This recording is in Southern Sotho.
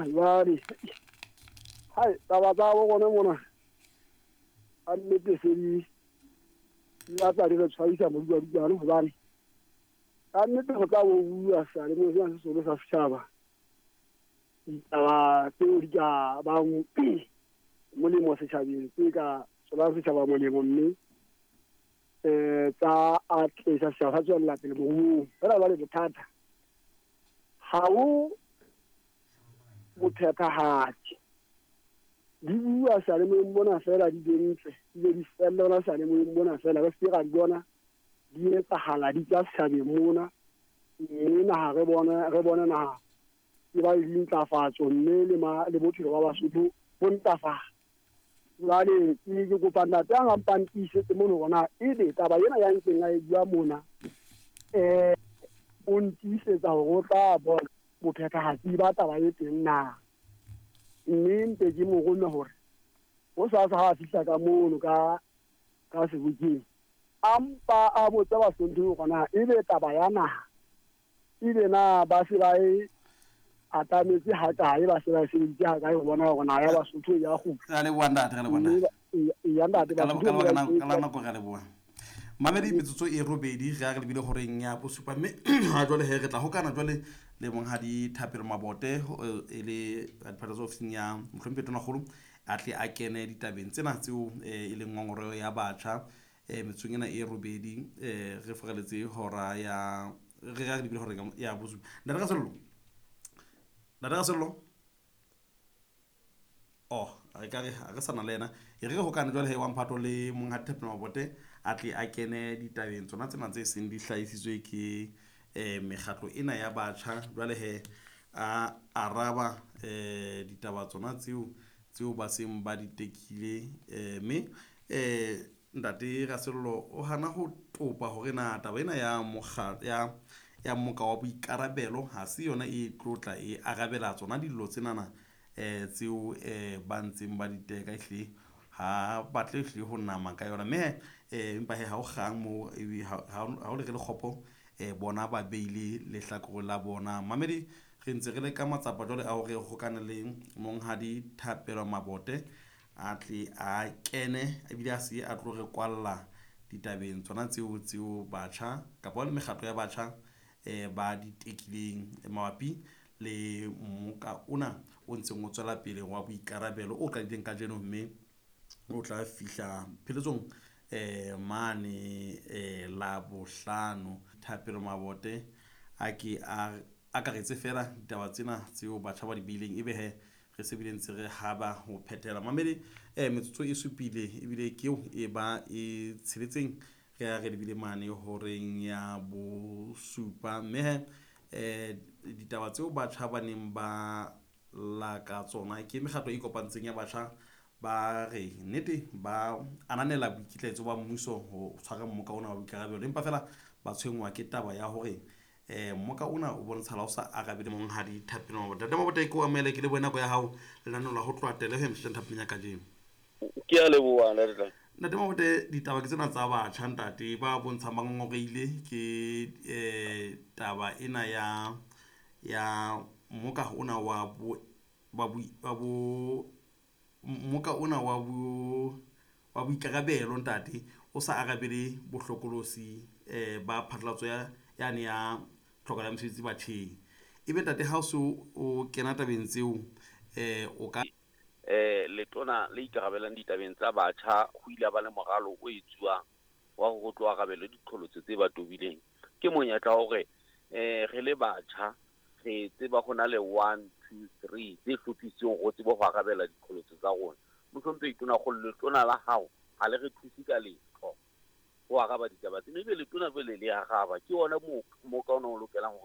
Mona jwale hai taba tsa bo rona mona a nnete se di batla di re tshwarisa moduadutwane, hobane ka nnete go tla bo bua seyalemoya sena se seholo sa setjhaba ditaba tseo di ka bang molemo setjhabeng, tse ka tswelang setjhaba molemo, mme tsa atlehisa setjhaba sa tswella pele moruong. Fela jwale bothata ha ho bophethahatsi, di bua seyalemoyeng mona fela, di be ntle di be di felle hona seyalemoyeng mona fela, re se ke ra di bona di etsahala di tswa setjhabeng mona, mme naha re bone naha e ba le dintlafatso, mme le bophelo ba Basotho bo ntlafala. Jwale ke kopa ntate a ngampang tiisetse mono hore na ebe taba ena ya ntseng a e bua mona o ntiisetsa hore o tla bona bophethahatsi ba taba e teng na, mme mpe ke mo rome hore ho sasa ha a fihla ka mono ka sebokeng a mpa a botse Basotho hore na ebe taba ya naha ebe na ba se ba e atametse ha kae, ba se ba e sebeditse ha kae ho bona hore naha ya Basotho ya kgutla. Re a leboha ntate, re a leboha ntate. Ya ntate, Ka Basotho lebaka ba e ka la nako re a leboha. Mamedi metsotso e robedi re a re lebile horeng ya bosupa, mme ha jwale he re tla hokana jwale le monghadi Thapelo Mabote e le advertisers ofising ya mohlomphehi Tonakgolo, a tle a kene ditabeng tsena tseo e leng ngongoreho ya batjha. Metsotsong ena e robedi re foreletse hora ya re a re lebile horeng ya bosupa. Ntate Rasello, ntate Rasello, oh re ka re ha re sana le yena, e re re hokane jwale he wa mphato le monghadi Thapelo Mabote a tle a kene ditabeng tsona tsena tse seng di hlahisitswe ke mekgatlo ena ya batjha. Jwale he a araba ditaba tsona tseo ba seng ba di tekile, mme ntate Rasello o hana ho topa hore na taba ena ya mokga ya moka wa boikarabelo ha se yona e tlotla e arabela tsona dillo tsenana tseo ba ntseng ba di teka, ehlile ha batle ehlile ho nama ka yona. Mme empa he ha o kgang moo, ha o le re le kgopo bona ba beile lehlakore la bona. Mamedi re ntse re le ka matsapa jwale a hore hokane le monghadi Thapelo Mabote a tle a kene ebile a se a tlo re kwalla ditabeng tsona tseo batjha kapa le mekgatlo ya batjha ba di tekileng mabapi le moka ona o ntseng o tswela pele wa boikarabelo o qadileng kajeno, mme o tla fihla pheletsong mane la bohlano. Thapelo Mabote a ke a akaretse fela ditaba tsena tseo batjha ba di beileng, ebe he re se bile ntse re haba ho phethela. Mamedi metsotso e supile ebile ke eo e ba e tsheletseng re a re lebile mane horeng ya bosupa, mme he ditaba tseo batjha ba neng ba la ka tsona ke mekgatlo e kopantseng ya batjha ba re nnete ba ananela boikitlaetso ba mmuso ho tshwara mmoka ona wa boikarabelo, empa fela ba tshwenngwa ke taba ya hore mmoka ona o bontshala o sa arabele monghadi Thapelo Mabote. Ntate Mabote, ke o amohele ke lebohe nako ya hao lenaneo la ho tloha tele ho ya motjha thapelong ya kajeno. Ke a leboha ntate. Ntate Mabote, ditaba ke tsena tsa batjha ntate ba bontshang ba ngongoreile ke taba ena ya mmoka ona wa bo wa bo wa bo mmoka ona wa bo wa boikarabelo ntate o sa arabele bohlokolosi ba phatlalatso ya yane ya tlhokelo ya mosebetsi batjheng. Ebe ntate ha o so o kena tabeng tseo o ka Letona le ikarabelang ditabeng tsa batjha ho ile ba le moralo o etsuwang wa hore ho tlo arabelwe diqholotso tse ba tobileng. Ke monyetla wa hore re le batjha re tseba ho na le 1 2 3 tse hlophisitsweng hore tsebe ho arabela diqholotso tsa rona. Mohlomphehi Tonakgolo, letona la hao ha le re thuse ka letho ho araba ditaba tsena, ebe letona jwale le araba. Ke ona mo ka ona o lokelang hore